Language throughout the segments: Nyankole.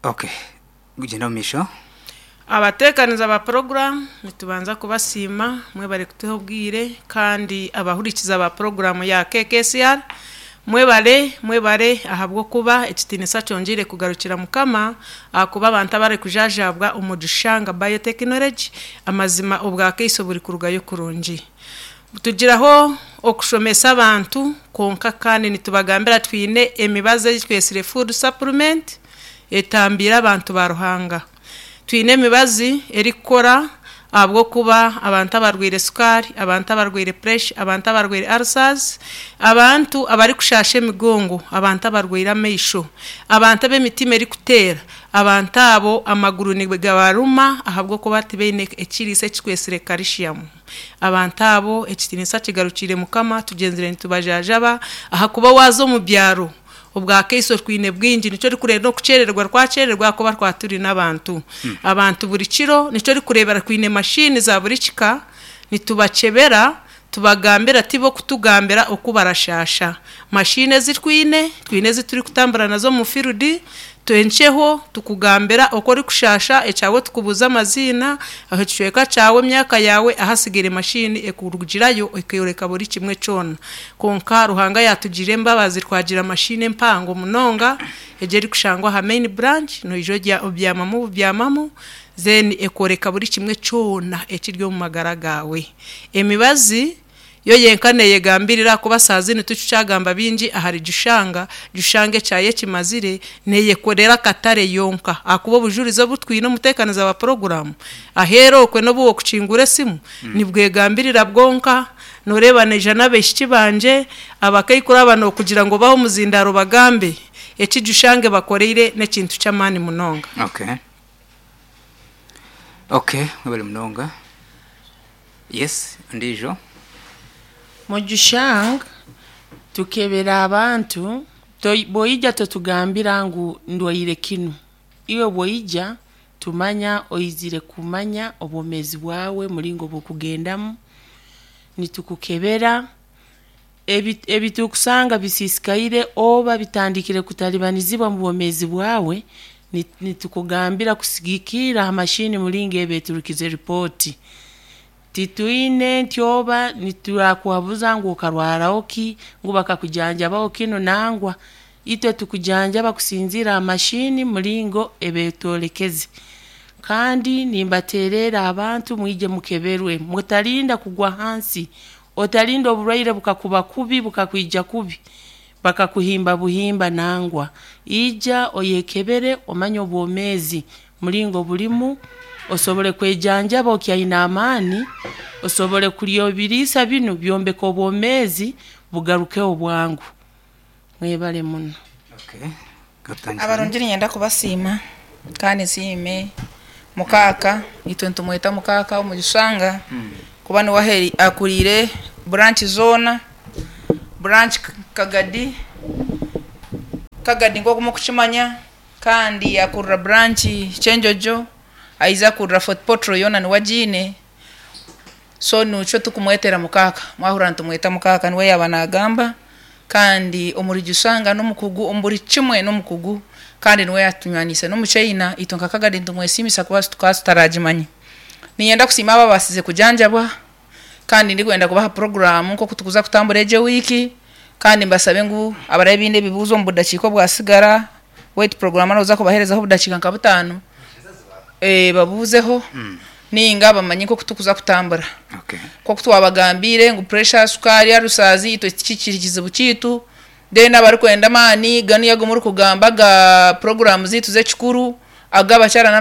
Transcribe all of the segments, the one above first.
Okay, gyenda omu maisho. Abateekaniza ba puroguraamu nitubanza kubasiima mwebare kutuha obwire kandi abahurikiza ba puroguraamu ya KKCR mwebare mwebare ahabw'okuba ekitiinisa kyongyeire kugarukira Mukama ahakuba abantu abarikujajaabwa omu Gishanga Biotechnology amazima obwakaiso buri kurugayo kurungi. Tugiraho okushomesa abantu kwonka kandi nitubagambira twine emibazi ei twetsire food supplement etambiire abantu ba Ruhanga. Twine emibazi erikukora ahabw'okuba abantu abarwaire sukaari, abantu abarwaire puresha, abantu abarwaire ulcers, abantu abarikushaasha emigongo, abantu abarwaire amaisho, abantu ab'emitima erikuteera, abantu abo amaguru nigabaruma ahabw'okuba tibaine ekiriisa ekikwetsire calcium. Abantu abo ekitiinisa kigarukiire Mukama, tugyenzire nitubajanjaba ahakuba waaza omu byaro obwakaiso twine bwingi nikyo orikureeba n'okukyerererwa twakyerererwa ahakuba twaba turi n'abantu. Abantu buri kiro nikyo orikureebera twine mashini za buri kika nitubakyebera tubagambira tibo kutugambira oku barashaasha. Mashini ezi twine, twine ezi turikutambura nazo omu field Twenkyeho tukugambira oku orikushaasha, ekyawe tukubuuza amaziina, ahu ekicweka kyawe, emyaka yaawe, ahasigaire mashini ekurugirayo ekoreka buri kimwe kyona. Kwonka Ruhanga yaatugirira embabazi twagira mashini empango munonga egyo erikushangwa aha main branch, noija orya obyamamu bubyamamu then ekoreka buri kimwe kyona ekiri omu magara gaawe. Emibazi. Yo yenka neeyegambirira ahakuba saaha zinu titukyagamba bingi ahari Jushanga. Jushanga ekyayo ekimazire, neeyekorera akatare yonka ahakuba obujurizi obu twine omuteekaniza wa puroguraamu aheeru okwe n'obu wokukingura esimu nibwegambirira bwonka. Nooreeba naija n'abaishiki bangye abakaikuru aba nookugira ngu obahe omuzindaaro obagambe eki Jushanga ebakoreire n'ekintu ky'amaani munonga. Okay. Okay, mwebare munonga. Yes, ondiijo. Mugisha, Tukebera abantu, bwoija totugambira ngu ndwaire kinu. Iwe bwoija tumanya oizire kumanya obwomeezi bwawe muringo oburikugendamu, nitukukebera, ebiturukusanga bisisikaire oba bitandikire kutalibanizibwa omu bwomeezi bwawe, nitukugambira kusigikirra ha mashini muringo eba eturukize ripooti. Titwine nti oba niturakuhabuza ngu okarwaraho ki, ngu bakakujanjabaho kinu nangwa. Itwe tukujanjaba kusinziirra ha mashini muringo eba etworekeze. Kandi nimbateererra abantu mwije mukeberwe, mutarinda kugwa hansi, otarinda oburwaire bukakuba kubi bukakwija kubi bakakuhimba buhimba nangwa. Ija oyekebere omanye obwomeezi muringo burimu, osobole kwejanjaba okyaine amaani, osobole kurya ebiriisa binu byombeke obwomeezi bugarukeho bwangu. Mwebale muno. Abarungi niinyenda kubasiima kandi nsiime mukaaka, itwe nitumweta mukaaka Omugishanga kuba niwe akuriire buranki zoona, buranki Kagadi, Kagadi nk'oku murikukimanya kandi akurira buranki Kyenjojo, aija akurira Fort Portal yoona niwe agiine. So nikyo turikumwetera mukaaka, mwahurira nitumweta mukaaka niwe yaaba naagamba kandi omuri Gishanga n'omukugu omu buri kimwe n'omukugu kandi niwe yaatunywanise n'omuchaina itwe nka Kagadi nitumwesiimisa kuba tukaba tutaragimanya. Niinyenda kusiima abo ababaasize kujanjabwa kandi ndikwenda kubaha puroguraamu nk'oku turikuza kutambura egi ewiiki kandi mbasabe ngu abaraabe baine ebibuuzo omu budakiika obwasigara waitu puroguraamu nooza kubaheerezaho obudakiika nka butaano babuuzeho nainga bamanye nk'oku turikuza kutambura. Nk'oku twabagambiire ngu puresha, sukaari, alusaazi itwe tikikiri kizibu kyaitu. Then abarikwenda amaani ganu agu murikugamba aga puroguraamu zaitu z'ekikuru, ag'abakyara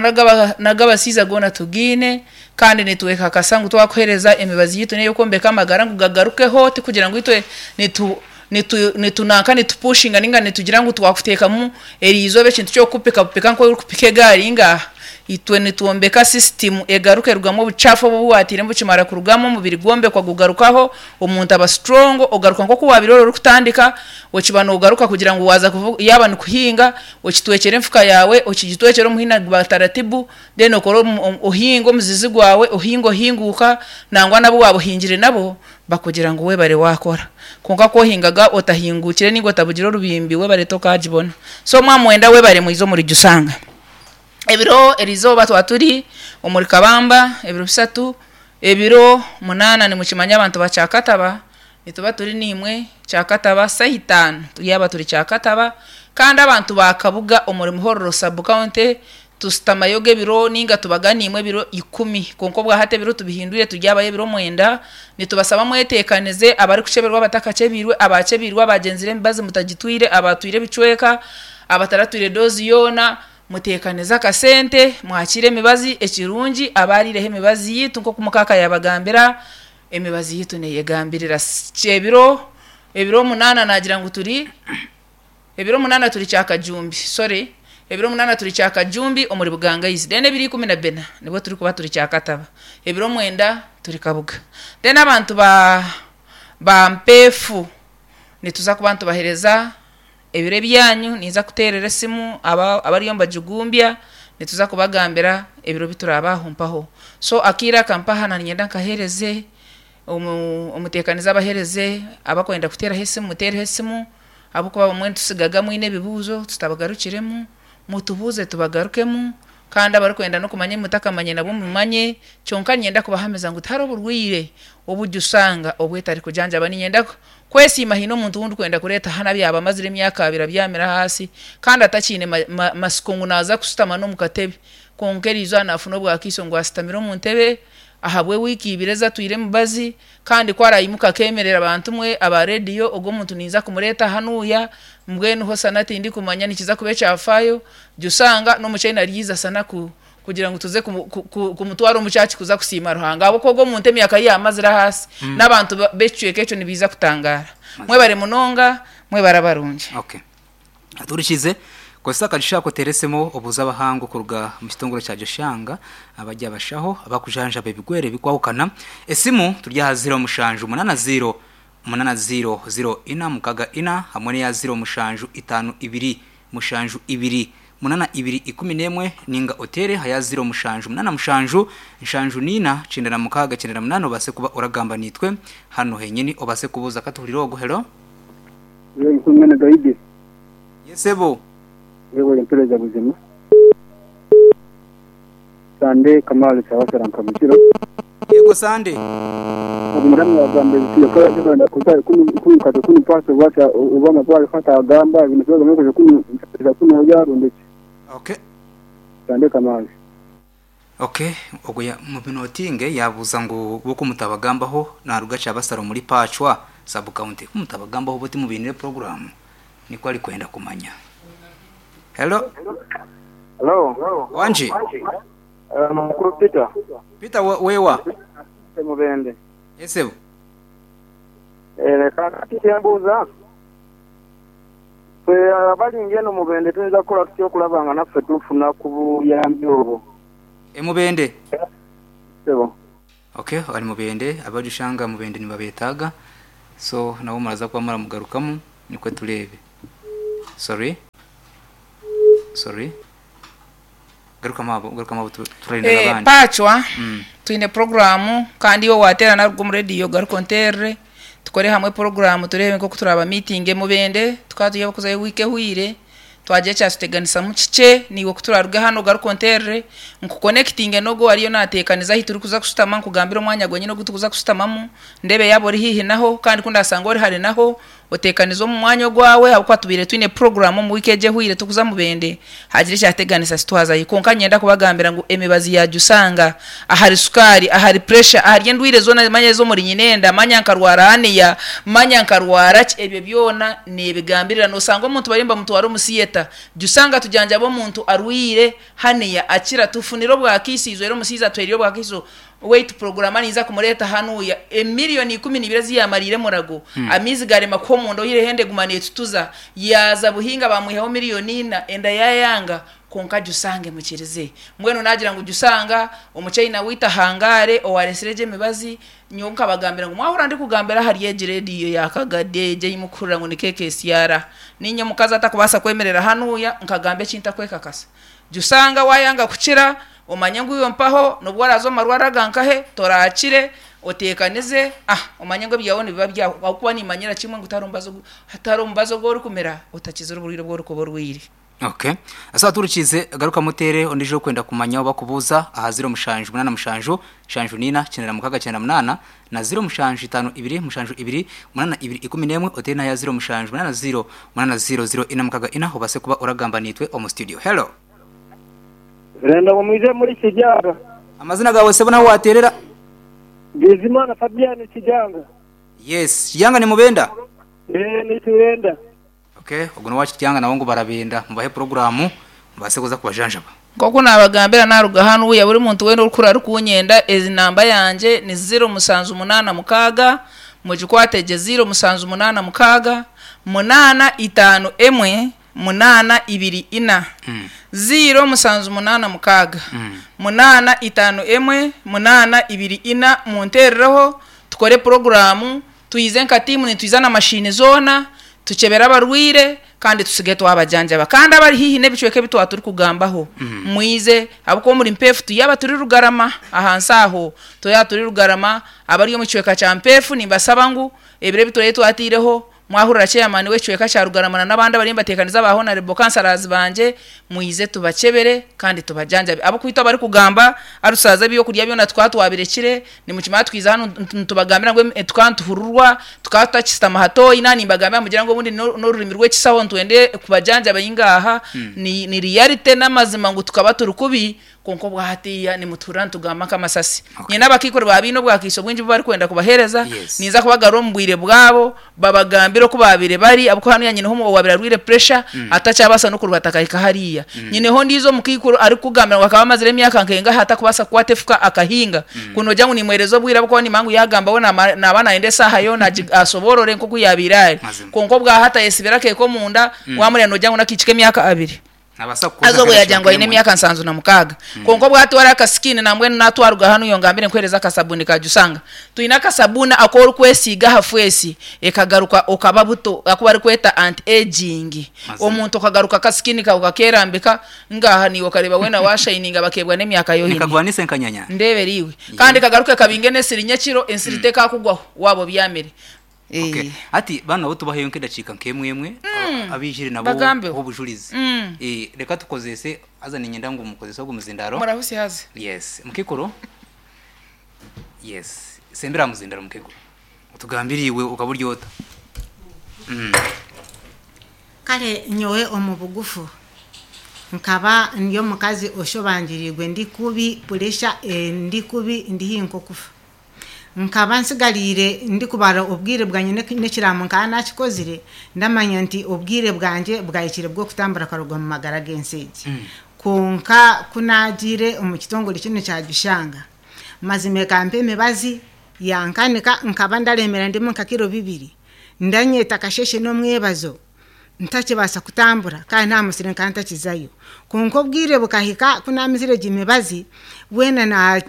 n'ag'abashaija goona tugaine kandi nitwekakasa ngu twakuheereza emibazi yaitu n'ey'okwombeka amagara ngu gagarukeho tikugira ngu itwe nitu nitu nitunanka nitupushinga nainga nitugira ngu twakuteekamu eriizooba ekintu ky'okukupikapika nk'orikupika egaari ngaaha. Itwe nitwombeka sisitimu egaruka erugamu obucaafu obu obu waatairemu bukimara kurugamu omubiri gwombekwa gugarukaho, omuntu aba strong ogaruka nk'oku waabaire ori orikutandika, okiba noogaruka kugira ngu waaza kuvuga yaaba nikuhinga okitwekyere enfuka yaawe okigitwekyere omuhini gwa taratibu then okore ohinge omuzizi gwawe ohinge ohinguuka nangwa n'abu waaba ohingire nabo Bakugira ngu webare wakora. Kwonka ku ohingaga otahinguukire ninga otabugire orubimbi webare tokaagibona. So mwamwenda webare mwije omuri Jusanga. Ebiro erizooba twaba turi omuri Kabamba ebiro 3, ebiro 8 nimukimanya abantu ba Kyakataba nituba turi niimwe Kyakataba saaha 5 turyaba turi Kyakataba. Kandi abantu ba Kabuga omuri Muhororo sub county tusitamayoga ebiro ninga tubaga niimwe ebiro 10, kwonka obwahati ebiro tubihindwire turyabayo ebiro 9. Nitubasaba mweteekanize abarikucheberwa, abatakachebirwe, abachebirwe, abagenzire emibazi mutagitwire, abatwire ebicweka, abataratwire dozi yoona, muteekanize akasente mwakire emibazi. Ekirungi abariireho emibazi yitu nk'oku mukaka yabagambira, emibazi yitu neyegambirira. Ebiro 8 nagira ngu turi ebiro 8 turi Kyakajumbi, sorry, ebiro 8 turi Kyakajumbi omuri Bugangaizi. Then ebiro 14 nibwo turi kuba turi Kyakataba, ebiro 9 turi Kabuga. Then abantu ba Mpeefu nituza kuba nitubahereza ebiro ebyanyu, ninza kuteerera esimu abariyo nibajugumbya, nituza kubagambira ebiro biturabahumpaho. So akaire aka mpaha naninyenda nkahereze omuteekanize abahereze abakwenda kuteeraho esimu, muteereho esimu, ahabw'okuba bamwe nitusigaga mwine ebibuuzo tutabagarukiremu, mutubuuze tubagarukemu, kandi abarikwenda n'okumanya mutakamanye nabo mumanye. Kyonka ninyenda kubahamiza ngu tihariho oburwaire obujusanga obwetari kujanjaba. Ninyenda kwesiima hiine omuntu wundi kwenda kureeta hanu abyaba amazire emyaka 2 abyamire ahansi kandi atakiine masiko ngu naaza kusitama n'omu katebe, kwonka eriizooba naafuna obwakiiso ngu asitamire omu ntebe ahabwe wiiki 2 ezatwire emibazi, kandi ku arayimuka akemerera abantu mwe aba rediyo, ogwo omuntu ninza kumureeta hanuuya. Mbwenu ho sana tindikumanya nikiza kuba ekyafaayo, jusanga n'omuchaina aryiza sana kugira ngu tuze kumutwara omu church kuza kusiima Ruhanga, ahabw'okuba ogwo omuntu emyaka ye yamazire ahansi, n'abantu b'ekicweka ekyo nibiiza kutangara. Mwebare munonga, mwebare abarungi. Okay. Aturikize kozesa akagisha ako oteere esimu obuuze abahangu kuruga omu kitongore kya Joshanga abari abashaho abakujanjaba ebigwere ebikwahukana. Esimu turi aha 07 80 80 0 4 6 4 hamwe n'eya 07 52 72 82 11, ninga oteere aha ya 07 87 74 96 98 obase kuba oragamba niitwe hanu henyini obase kubuuza. Katuhurire ogu. Hello. Mwene Gaidi. Yesebo. Yebale mpereza buzima. Sande Kamali Kyabasara Nkamukiro. Yego Sande. Omurami yagamba ebiti yakora kwenda kuza kumi kati kumi paso bwata oba amatwaro kata agamba ibintu byo kuja kumi kumi yarundiki. Okay. Sande Kamali. Okay, ogwo mubinotinge yabuza ngu boko mutabagambaho naruga Kyabasara muri Pachwa sub county kumutabagambaho buti mubinire program niko ari kwenda kumanya. Hello. Hello. Wanji. Mukuru Peter. Peter wewa. Mubende. Esebo. Kakati kyembuuza ffe abalinga eno Mubende tuyinza kukola tutya okulaba nga naffe tufuna ku buyambi obwo? Emubende. Sebo. Okay, ari Mubende abajushanga Mubende nibabetaga, so nabo muraza kuba muramugarukamu nikwe turebe. Sorry. Garuka mabo turarinda abandi. Pachwa twine programu kandi iwe watera naruga omu rediyo garuka onterere tukore hamwe programu turebe nk'oku turaba meeting Mubende tukaba tugiye kuzayo wiiki ehwire twagira ekyatuteganisamu kikye, niiwe ku turaruga hano garuka onterere nkuconnectinge n'ogwo ariyo naateekaniza ahi turikuza kushutama, nkugambire omwanya gwenyine ogu turikuza kushutamamu, ndebe yaaba ori haihi naho, kandi ku ndasanga ori hare naho oteekanize omu mwanya ogwawe, ahabw'okuba tubaire twine programu omu wiiki egi ehwire tukuza Mubende hagira ekyateganisa sitwazayo. Kwonka niinyenda kubagambira ngu emibazi yajusanga ahari sukaari, ahari pressure, ahari endwire zoona, manya ez'omuri nyinenda, manya nkarwara haniya, manya nkarwara ki, ebyo byona nebigambirira. Nosanga omuntu bariyo nibamutwara omu theatre, jusanga tujanjaba omuntu arwire haniya akira, tufunire obwakiisizo era omusiizi atwereire obwakiisizo wait program ninza kumureta hanuya emiliyoni 12 eziyamariire murago, amaizi garema kuha omunda oyireho enda eguma neetutuza, yaza Buhinga bamwihaho miliyoni 4 enda yayanga, konka jusange mukirize. Mbwenu nagira ngu jusanga omuchaina wita hangare owaresire egyo emibazi, nyowe nkabagambira ngu mwahura ndikugambira ahari egi rediyo yakagade egyo eyimukuhurira ngu ni KKCR, ninye omukazi atakubaasa kwemerera hanuya nkagamba ekintu akwekakasa. Jusanga wayanga kukira omanye ngu iwe mpaho nobwo oraza omu marwaro agankahe torakire oteekanize, omanye ngu ebyawe nibiba byawe, ahabw'okuba nimanyira kimwe ngu tihariho omubazi ogu orikumira otakizire oburwaire obu orikuba orwaire. Okay. Asa aturikize garuka mutere ondijo kwenda kumanya oba kubuza aha 0787 74 96 na 0752 72 8 otere na ya 0780 80 0 obase kuba oragamba nitwe omu studio. Hello. Renda ngo mwize muri Kijanga. Amazina gawe sebo naho waterera. Bizimana Fabian Kijanga. Yes, Kijanga ni mubenda. Eh ni tuwenda. Okay, oguno wachi Kijanga nawo ngo barabenda mubahe programu mubase kuza kubajanjaba. Nk'oku naabagambira naaruga hanu uya buri muntu weena orikura arikunyenda ezi namba yangye ni 0786 mugikwate gye 0786 851 824 0786 851 824 munteerereho tukore poroguramu twize nka tiimu nitwiza na mashini zoona tukyebere abarwaire kandi tusige twabajanjaba kandi abari haihi n'ebicweka ebi twaba turikugambaho mwize ahabw'okuba omuri mpeefu tuyaba turi rugarama ahansi aho tuyaba turi rugarama abari omu kicweka kya mpeefu nimbasaba ngu ebiro ebi turabe twataireho mwahurira chairman w'ekicweka kya rugarama na n'abandi abariyo nibateekaniza aba honorable councillors bangye mwize tubakyebere kandi tubajanjabe ahabw'okuba itwe abarikugamba arusaza ebyokurya byona tukaba twabirekire nimukimanya twiza hanu nitubagambira ngu tukaba nituhururwa tukaba tutakisitama hatoyi naaba nimbagambira mugira ngu obundi n'orurimi rw'ekisaho nitwende kubajanjaba ingaha ni, ni reality n'amazima ngu tukaba turi kubi kwonka obwa hatiiya nimutuhurira nitugamba nk'amasasi. Okay. Nyine abakiikuru baaba baine obwakiiso bwingi obu barikwenda kubaheereza, Yes. ninza kubagarura omu bwire bwabo babagambire oku baabaire bari ahabw'okuba hanuya nyineho owaabaire arwaire pressure atakyabaasa n'okurubata akahika hariya. Nyineho ondiijo omukaikuru arikukugambira ngu akaba amazire emyaka nkengaha atakubaasa kukwata efuka akahinga. Ku noogira ngu nimuheereza obwire ahabw'okuba nimanya ngu yaagamba we naamara naaba naayenda esaaha yoona asoboorore nk'oku yaabaire ari. Mazima. Kwonka obwahati ayesibire akeeka omunda, waamureba noogira ngu n'akaishiki k'emyaka abiri. Nabaasa kukuza Haza obwo nk'ebicweka yaagira ngu aine emwe. emyaka 76. Kwonka obwo atwara akasikini nambwenu naatwaruga hanu iwe ngambire nkuheereze akasabuni ka Jusanga. Twine akasabuni aku orikwesiiga aha feesi ekagaruka okaba buto aku barikweta anti aging. Mazima. Omuntu okagaruka akasikini kaawe kakeerambika ngaha naiwe okareeba weena waashayininga bakeebwa n'emyaka yoine. Nikagwanisa enkanyanya. Ndeebera iwe. Kandi kagaruke kabinge n'esiri nyekiro ensiri tekaakugwaho waaba obyamire. Okay. Eh. Hati banu nabo tubaheyo nk'edakiika nk'emwe emwe abaijire nabo Bagambeho. obujurizi. Eh, reka tukozese haza niinyenda ngu mukozese ogu muzindaro. Murahusi haza. Yes, mukikuru. Yes, sembera aha muzindaro mukikuru. Otugambire iwe okaba ori ota. Kare nyowe omu bugufu nkaba ndi omukazi oshobangiriirwe ndi kubi puresha ndi kubi ndi haihi nk'okufa. Nkaba nsigariire ndikubara obwire bwangye n'ekiraamo nkaba naakikozire ndamanya nti obwire bwangye bwahikire bw'okutambura nkaruga omu magara g'ensi egi. Kwonka ku naagiire omu kitongore kinu kya Gishanga, mazima ekampa emibazi yankanika nkaba ndaremera ndimu nka kiro bibiri, ndanyeta akasheeshe n'omwebazo ntakibaasa kutambura kandi n'aha musiri nkaba ntakizayo. Kwonka obwire bukahika ku naamizire egi mibazi, weena na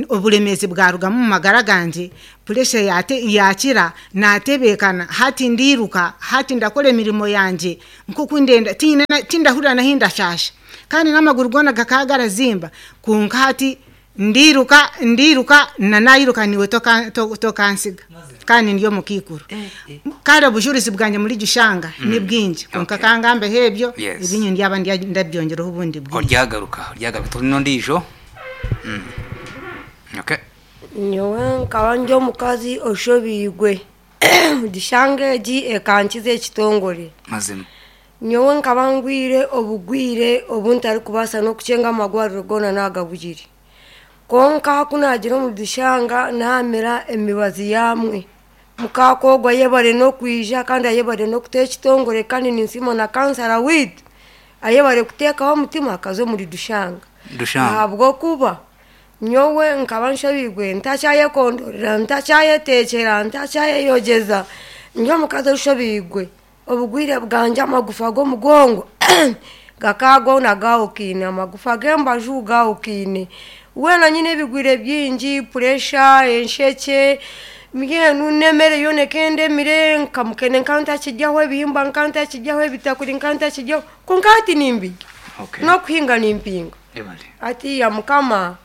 oburemeezi bwarugamu omu magara gangye, puresha yaakira, naatebeekana, hati ndiiruka, hati ndakora emirimo yangye nk'oku ndenda, tihaine tindahurira n'ahi ndashaasha. Kandi n'amaguru goona gakaba garazimba, kwonka hati ndiiruka, ndiiruka, na naayiruka naiwe tokansiga. Kandi ndi omukaikuru. Kare obujurizi bwangye muri Gishanga ni bwingi, kwonka Okay. ka ngambeho ebyo, Yes. ebinyu ndyaba ndabyongyeraho obundi bwingi. Oryagaruka, oryagaruka. Turi n'ondiijo. Okay. Nyowe nkaba ndi omukazi oshobiirwe. Gishanga egi ekankiza ekitongore. Mazima. Nyowe nkaba ngwire obugwire obu ntarikubaasa n'okukyenga amagwariro goona naagabugire. Kwonka ku naagira omu Gishanga naamira emibazi yaamwe. Mukaaka ogwo ayebare n'okwija kandi ayebare n'okuta ekitongore kandi ninsiima na kansara waitu ayebare kuteekaho omutima akaza omuri Dushanga. Dushanga. Ahabw'okuba nyowe nkaba nshobiirwe ntakyayekondorera, ntakyayeteekyera, ntakyayeyogyeza. Ndi omukazi oshobiirwe, obugwire bwangye amagufa g'omugongo gakaba goona gahukaine, amagufa g'embaju gahukaine. Weena nyine ebigwire bingi, puresha, enshekye, mbwenu n'emere yoona ekendemire, nka mukene nkaba ntakiryaho, ebihimba nkaba ntakiryaho, ebitakuri nkaba ntakiryaho, kwonka hati nimbirya. Okay. N'okuhinga nimpinga. Ebale. Hatiiya Mukama,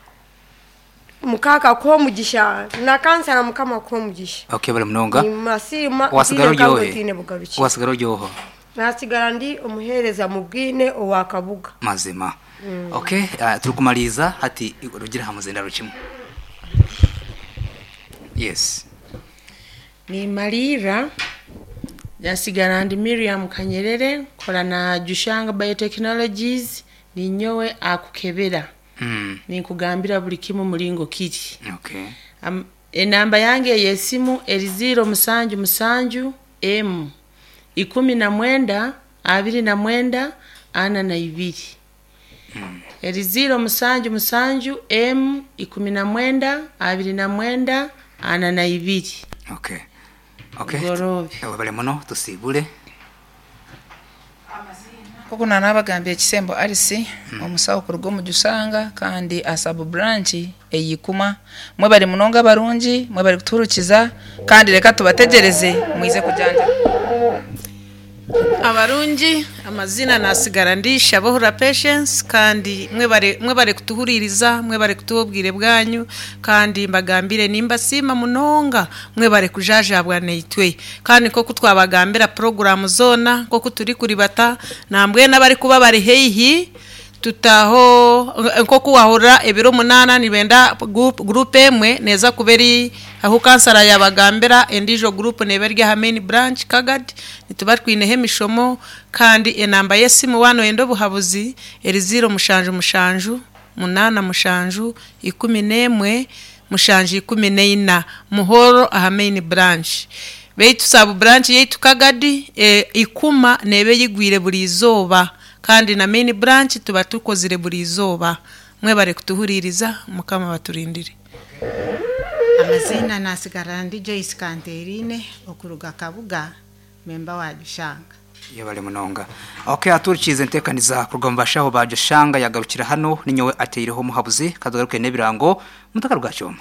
Mukaka akuhe omugisha, na kansara Mukama akuhe omugisha. Okay, bari munonga. Nimasiima, Wasigara ntiine oryohe. nkangu ntiine bugarukiro. Wasigara oryoho. Nasigara ndi omuheereza mu bwine owa Kabuga. Mazima. Okay, turikumariiza hati rugira aha muzindaro kimwe. Yes. Nimaliira nasigara ndi Miriam Kanyerere nkora na Jushanga Biotechnologies ninyowe akukebera. Ninkugambira buli kimu muringo kiri. Okay. Enamba yange ey'esimu eri 077 M 19 29 42. Eri 077 M 19 29 42. Okay. Okay. Bugoroobe. Webale muno tusiibure. Nk'oku naanabagambire Kisembo Alice, omusawo kuruga omu Jusanga kandi aha sub branch ey'Ikuma. Mwebare munonga abarungi, mwebare kutuhurikiza kandi reka tubategyereze mwize kujanjaba. Abarungi amazina nasigara ndi Shabohura Patience kandi mwebare mwebare kutuhuririza mwebare kutuha obwire bwanyu kandi mbagambire nimbasiima munonga mwebare kujajabwa naitwe kandi nk'oku twabagambira poroguramu zoona nk'oku turi kuribata nambwenu abarikuba bari haihi tutaho nk'oku wahurira ebiro 8 nibenda gurupu emwe neeza kuba eri ahu kansara yabagambira endiijo gurupu neeba eri aha main branch Kagadi nituba twineho emishomo kandi enamba y'esimu waaba noyenda obuhabuzi eri 077 87 11 714 Muhoro aha main branch. Beitu sub branch yaitu Kagadi Ikuma neeba eyigwire buri izooba kandi na main branch tuba tukozire buri izooba. Mwebare kutuhuririza Mukama abaturindire. Amaziina nasigara ndi Joyce Kanterine okuruga Kabuga memba wa Jushanga. Yebale munonga. Okay, aturikiize enteekaniza kuruga omu bashaho ba Jushanga yagarukira hanu ninyowe ateireho omuhabuzi katugaruke n'ebirango mutakaruga kyoma.